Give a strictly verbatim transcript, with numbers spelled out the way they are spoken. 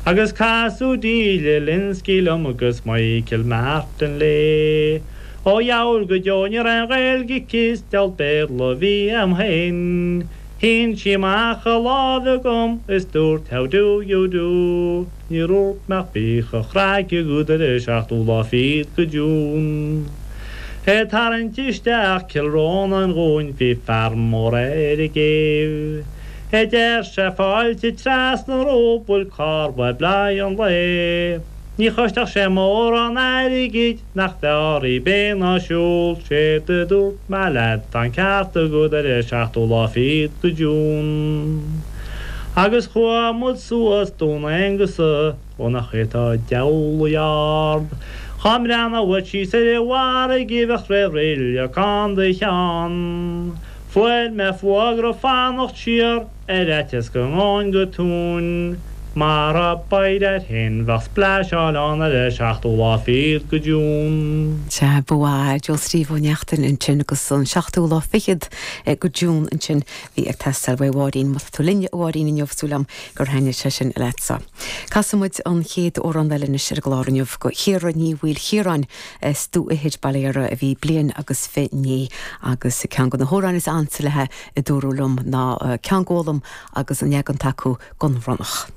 Agus casadh Delia Lynskey liom agus Michael Martin léi. Ó dheabhail go deo ní raibh aon Ghaeilge aici is deabhal Béarla a bhí a'm féin. Shín sí amach a lámh chugam is dúirt how do you do. Níor dhúirt mé ach bíodh an chraic agat ar an seachtú lá fichead go June. Ag tarraingt isteach Cill Rónáin dhúinn bhí fear mór ar an gcéibh. A deir sé fáilte trasna romhaibh bhfuil carr uaibh le haghaidh an lae. Ní chostfadh sé mórán airgid nach bhfearr í bheith ná siúl, séard a dúirt mé leat tá an ceart agat ar an seachtú lá fichead go June. Agus chuaigh muid suas Dún Aonghasa ó nach é atá diabhlaí ard. Dhá mbreathnódh uait síos ar an bhfarraige bheadh ré roilleach ann do cheann. Fuair mé fógra fanacht siar ar fhaitíos go ngabhfainn go tóin. Mar a b'éir féin bheadh spláiseáil ann ar an seachtú lá fichead go June. Sea, ba mhaith Joe Steve Ó Neachtain ansin agus an seachtú lá fichead go June ansin bhí ag teastáil uaidh Mháirín má tá tú linn a Mháirín inniu súil agam gur thaitnigh sé sin leatsa. Casfaidh muid an chéad amhrán eile anois ar an gclár inniu go Chiara Ní Mhaoilchiaráin as Dumha Ithir Baile Dhéara a bhí bliain agus fiche naoi agus ceann de na hamhráin is ansa léi a dúradh liom ná ceann Gólam agus an leagan atá acu den Ronnach.